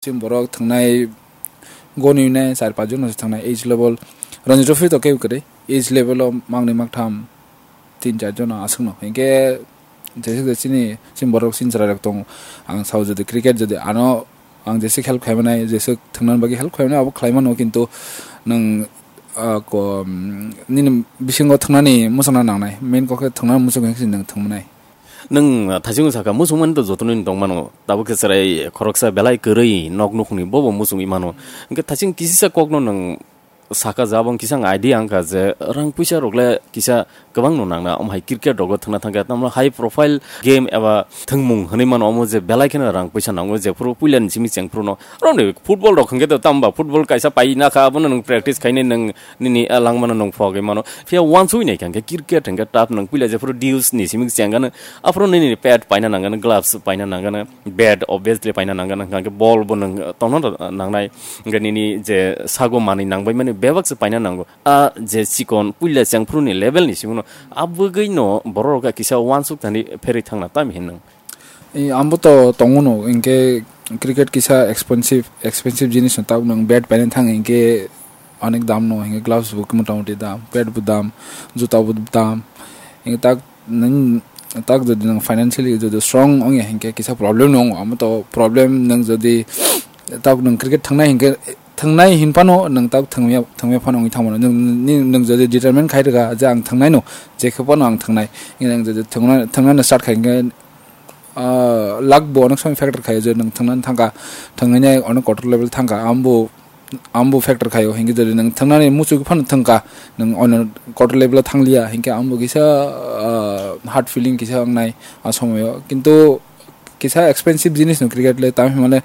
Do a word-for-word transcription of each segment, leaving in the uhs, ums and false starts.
Chini borok thangnai goni nai char panch jon se thangnai age level. Ranji Trophy to kebo kwrwi, age level o mangni maktham tin char jon aswkno. Hinkhe jesuk je chini, chini borok chini chwrairok tongo. Ang sao jodi cricket jodi ano ang jesuk help khaimanai, jesuk thangnani bagwi help khaimanai abo khlaimano, kintu nwng, ah, ko, mm, nini bisingo thangnani muchungna nangnai. Main kok khe thangnani muchung khe nwng thangmanai. Nwng, ah, thaichung saka muchungmani to jotono ni tongmano. Tabuk khe chwrai khoroksa belai kwrwi nok nukhungni bobo muchungwi mano. Hinkhe thaichung kisisa kokno nwng saka jabong kisa ang idea wngkha je rang puisa rok le kisa kwbang no nangna, omo hai cricket rogo thangna thangkha, tamno high profile game eba thwngmung hwnwi mano, omo je belai kheno rang puisa nango, jephuru puilani simi chengphuru no romni football rok hwnkhe to tamba football kaisa paina kha, abono nwng practice khainai nwng nini, ah, langmano nwng phogwi mano, phiya wansugwi naikha hwnkhe cricket hwnkhe tough, nwng puila jephuru dues ni simi chengano, aphuru nini pad paina nangano, gloves paina nangano, bat obviously paina nangano, hwnkhe ball bo nwng tono nangnai. Hingke nini je sago manui nangbai mani bebak se paina nango. A je chikon puila chengphru ni level ni simi no, a bwgwi no borok rok kisa wansuk thani pherwi thangna tamo hinwi. E, ambo to tongo no, hingke cricket kisa expensive, expensive jinis no, tabuk nwng bat paina thang hingke onek dam no, hingke gloves bo motamoti dam, bat bo dam, juta bo dam, hingke tak nwng tak jodi nwng financially jodi strong wngya hingke kisa problem no wngo, amo to problem nwng jodi tak nwng cricket thangnai hingke, thangnai hin phano nwng tak thangya, thangya phano wngwi thangmano. Nwng, ni, nwng jodi determine khai rwkha je ang thangnai no, je khe phano ang thangnai, nwng jodi thangnai, thangnai no start khai hingke, ah, luck bo onek somoi factor khaio, je nwng thangnani thangkha, thangnai onek kotor level thangkha, ambo ambo factor khaio, hingke jodi nwng thangnani muchuk phano thangkha, nwng ono quarter level o thangliya, hingke ambo kisa, ah, hard feeling kisa wngnai a somoyo. Kintu kisa expensive jinis no cricket le, tamo himale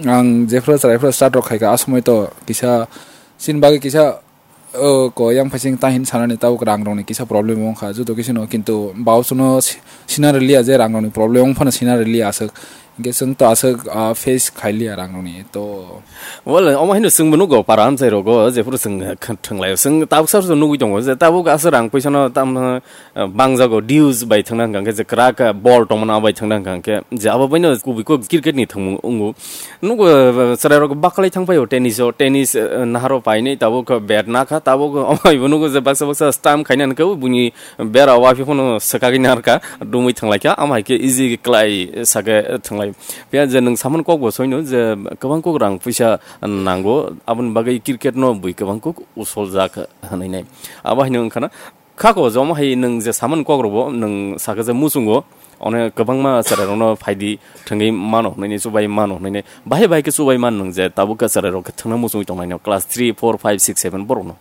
ang jephru chwraifru start rok khaika, a somoi to kisa chini bagwi kisa, oh, ko yang phaising ta hin sanani tabuk rang rokni kisa problem wngkha, joto kisa no, kintu baosono si-, sina rwliya je rang rokni problem wng phano sina rwliya aswk. Hingke chwng to aswk, ah, face khailiya rang rokni to. Well, omo haino chwngbo nugo para amchai rogo, jephuru chwng kha-, thwnglaio. Chwng tabuk sar nugui tongo, je tabuk aswk rang puisano tam, ah, bangjago, dues bai thangna hwnkha khe, je kwrak, ah, ball tongmano abai thangna hwnkha khe, je abo baino kubui kok cricket ni thwngmung wngo. Nugo, ah, chwrai rok baklai thang paio tennis o, tennis, ah, naharo painai tabuk bat nakha, tabuk omo haibo nugo je baksa baksa stamp khaina hwnkhe buini bera o waiphi phano swkagwi narwkha, dumui thanglaikha, amo hai khe easy khlai sake thwnglai. Phiya je nwng samani kok bo soino je kwbang kok rang puisa nango, aboni bagwi cricket no bui kwbang kok usoljak hwnwi nai. Abo haino wngkha na, khako je omo hai nwng je samani kok rokbo nwng saka je muchungo, one kwbangma chwrai rokno phaidi thwngwi mano hwnwi nai, chubai mano hwnwi nai. Bahai bahai khe chubai man nwng je tabuk khe chwrai rok khe thwngna muchungwi tongnai no class three, four, five, six, seven borok no.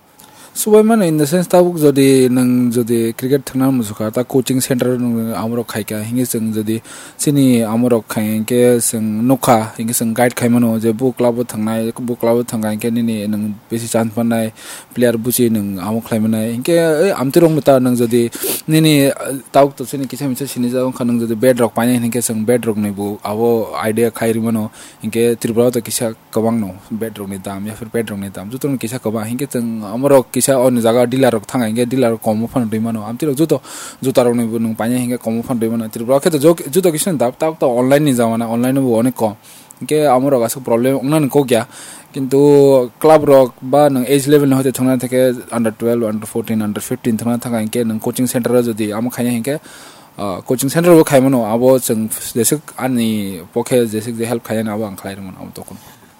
Subaimano in the sense, tabuk jodi nwng jodi cricket thwngna muchukha, ta coaching center nwng amorok khaikha, hingke chwng jodi chini amorok khai hingke chwng nukha, hingke chwng guide khaimano je bo club o thwngnai, bo club o thwngkha hingke nini nwng bisi chance mannai player buchi nwng amo khlaimanai. Hingke, eh, amtwi rokno ta nwng jodi nini, eh, tabuk to chini kisa misa sinijak wngkha, nwng jodi bat rok painai hingke chwng bat rokni bo abo idea khai rwmano, hingke Tripura o to kisa kwbang no, bat rok ni dam, ya phir bat rok ni dam, joto no kisa kwbang, hinkhe chwng amorok kisa o ni jaga dealer rok thang, hinkhe dealer rok kom o phano rwi mano, amtwi rok joto juta rok ni bo nwng paina hinkhe kom o phano rwi mano, Tripura o khe to jo-, joto kisa ni dam, tabuk to online ni jamana, online o bo onek kom, hinkhe amorok aswk problem wngnani kok ya, kintu club rok ba nwng age level ni hoite thangna thangkhe under twelve, under fourteen, under fifteen thangna thangkha hinkhe nwng coaching center o jodi amo khaina hinkhe, ah, coaching center bo khaimano, abo chwng jeswk ani pokhe jeswk je help khainani abo ang khlai rwmano abo tokon.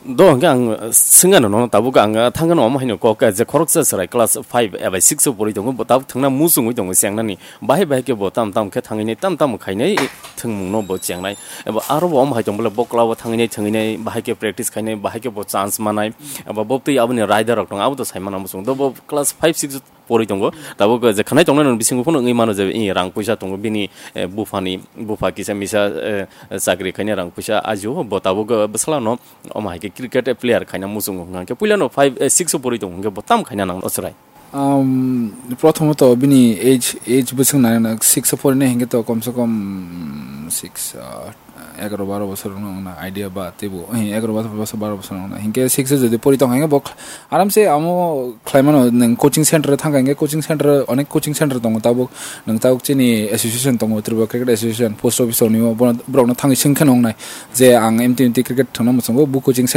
Do hwnkhe ang swngano nono tabuk ang thangano omo haino kok je khoroksa chwrai class five eba six o pori tongo, bo tabuk thangna muchungwi tongo chengnani, bahai bahai khe bo tam tam khe thangwi nai tam tam khainai thwngmungno bo chengnai, eba aro bo omo hai tong bole bo club o thangwi nai thwngwi nai bahai khe practice khainai, bahai khe bo chance manai, eba bo twi aboni rider rok tongo abo to saimano muchung do bo class five six pori tongo, tabuk je khanai tongnai nini bisingo phano wngwi mano je, eh, rang puisa tongo bini, eh, buphani, bupha kisa misa, eh, chakri khaina rang puisa ajio, bo tabuk, eh, bwsala no omo hai khe cricket player khaina muchungo hwnkha khe puila no five, eh, six o pori tongo hwnkhe bo tam khaina nang o chwrai. Um, prothomot bini age, age bwswk nai na six o porinai hinkhe to komse kom six, uh, egaro baro bosor wngna idea ba teibo, eh, egaro bosor, bosor, baro bosor wngna. Hinkhe six o jodi pori tongkha hinkhe bo aramse amo khlaimano, nwng coaching center thangkha hinkhe coaching center, onek coaching center tongo tabuk, nwng tabuk chini association tongo, Tripura Cricket Association, post office ni borokno thangwi swngkhe nongnai je ang M T M T cricket thangna muchungo, bo coaching